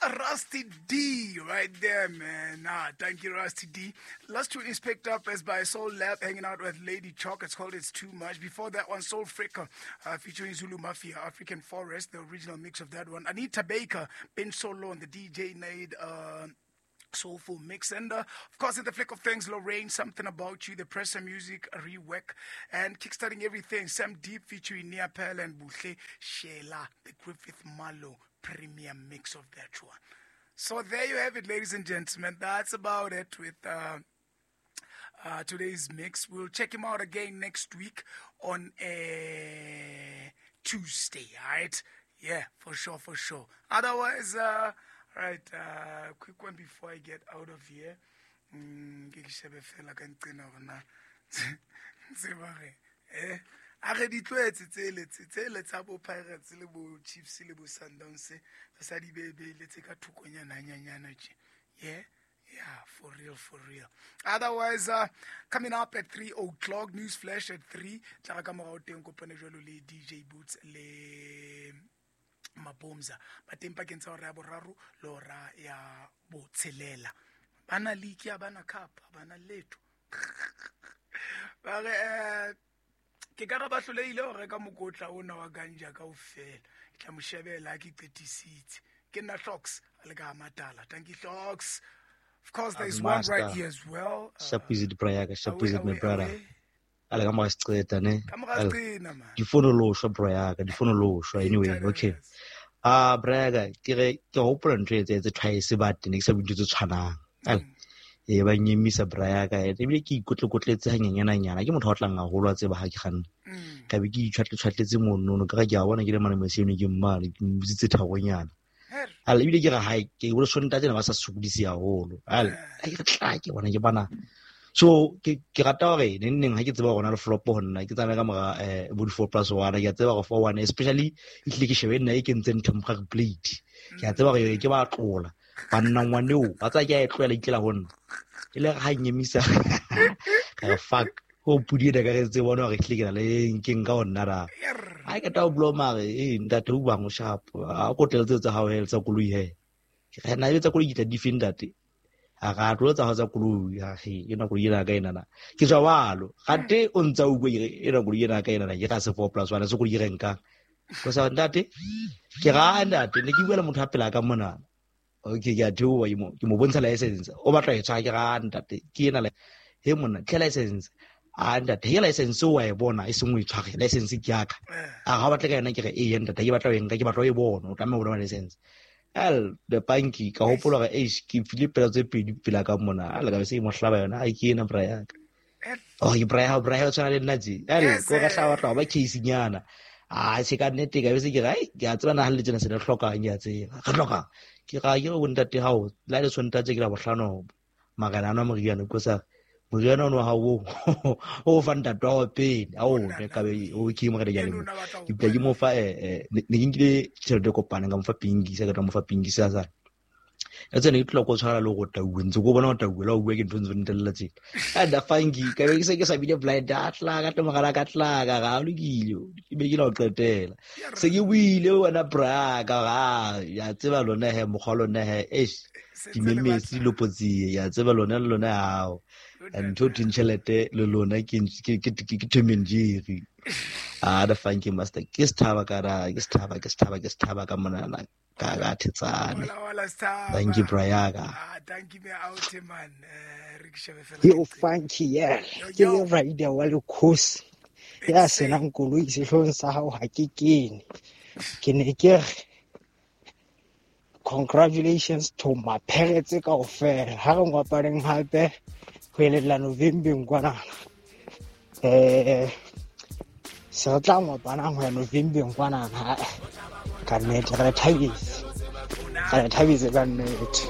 That's Rusty D right there, man. Ah, thank you, Rusty D. Last tune is picked up as by Soul Lab, hanging out with Lady Chalk. It's called It's Too Much. Before that one, Soul Fricker, featuring Zulu Mafia, African Forest, the original mix of that one. Anita Baker, Ben Solo, and the DJ Nade, soulful mix. And of course, in the flick of things, Lorraine, Something About You, the Pressure Music rework, and kickstarting everything, Sam Deep featuring Nia Pearl and Buhle Shela, the Griffith Malo premium mix of that one. So there you have it, ladies and gentlemen. That's about it with today's mix. We'll check him out again next week on a Tuesday, all right? Yeah, for sure, for sure. Otherwise, right, quick one before I get out of here. Ke ke shebe fela ka nqena hore na tseba re a re di tlwaetse tsele tsele tsa bo Pirates le bo Chiefs le bo Sundowns, re sa di bebeile tse ka thokonyana hanyanyana tje. Yeah. Yeah, for real, for real. Otherwise, coming up at 3 o'clock, News Flash at 3. Tla ka morao teng kopane jwalo le DJ Boots le Mabomza. Ba teng pakeng tsa hora ya boraro le hora ya botshelela. Bana league ya bana cup, bana letho. Ba re ke ka re ba hlolehile ho reka mokotla ona wa ganja kaofela. Ke tla mo shebela ke qetisitse. Ke nna Hlox a le ka Matala. Thank you, Hlox. Of course, there's one right here as well. Sharp is it, brother? Sharp is it, my brother? Ale ka mora seqeta, ne? Ka mora seqena, man. Di fono lo shwa, brother. Di fono lo shwa. Anyway, okay. Ah, brother, ke re ke hopola ntho e tse twice but ne ke sa bue ntho tse tshwanang. Ale e ba nyemisa brother, ebile ke ikotlekotletse hanyenyana nyana. Ke motho a tlang haholo a tseba ha ke kganna. Ka be ke itshwatle-tshwatletse monono, ka re ke a bona ke le mane moseno ke mmane, ke mmotsitse tharonyana. Ale ebile ke re hae ke bolo sonta tsena ba sa sokodise haholo. Ale ke re tla ke bona ke bana. So ke rata hore neng neng ha ke tseba hore na le flop ho nna ke tsamaye ka mora bo di 4+1, ke a tseba hore 4-1 especially e hlile ke shebe nna e kentseng temporary plate. Ke a tseba hore ke ba tlola. Banna ngwaneo ba tsa ke a e tlohela itlela ho nna. E le ha nyemisa ka re fuck ho pudi ena ka re tse bona hore hlile ke na le nkeng ka ho nna ra. Ha ke ta o blow mare e ntate o bang o sharp a ko tletse tsa hao he tsa koloi he. Ke re na e tsa koloi ke tla di feng ntate. A ga tlo tsa hao tsa koloi ha he ena koloi ena ka ena na. Ke tswa walo gate o ntsa o bue ena koloi ena ka ena na ke ga se 4+1 se koloi re nkang. Ko sa ntate ke ga ntate ne ke bua le motho a pela ka mona. Okay, ke a theoha ke mo bontsha license. O batla e tshwa ke ga ntate ke ena le he monna tle license. A ntate he license o a e bona e sengwe e tshware license ke ya ka. A ga batla ka yona ke re e ntate ke batla o nka ke batla o e bona o tlameha ho bona license. Al the banki ka hopola hore eish ke file pela tse pedi pela ka mona a le ka se mo hlaba yona a ke ena bra ya ka. Oh ke bra ya o tshwana le nna tje. Al ko ka hlaba tla ba case nyana. A se ka nnete ka be se ke re ai ke a tseba na ha le tsena se le hlokang ke a tseba. Re hlokang ke ga ke go ntate hao la le tshwanetse ke la bohlano magana ana moriana ko sa moriana ono ha o o fa ntate wa pele a o ne ka be o ke mo re ya le ke ke mo fa ne ke nkile tšhelete kopana ka mo fa pingi sa ka tla mo fa pingi sa sa ya tsene ke tlo go tshwara le go tauwe ntse go bona go tauwe la o bua ke ntho ntse ntelela tse a da fangi ka be ke se ke sa bile blind a tla ka tlo mogala ka tla ka ga lokile ke be ke la o qetela se ke buile wena bra ka ga ya tseba lona he mokgwa lona he eish dimemesi lopotsi ya tseba lona le lona hao ntho tšhelete le lona ke ke Tom and Jerry. A da funky master ke sthaba ka ra ke sthaba ke sthaba ke sthaba ka mona ka ga thetsane. Thank you Brayaga. Ah thank you me out man. Re ke shebe fela. Yo funky yeah. Ke le rider wa le khosi. Ya senang koloi sehlong sa hao ha ke kene. Ke ne ke re congratulations to my parents kaofela. Ha re ngwapareng hape ho elella November kwana. Se re tla ngwapanang ho ya November kwana ha. Ka nnete re thabise. Re thabise ka nnete.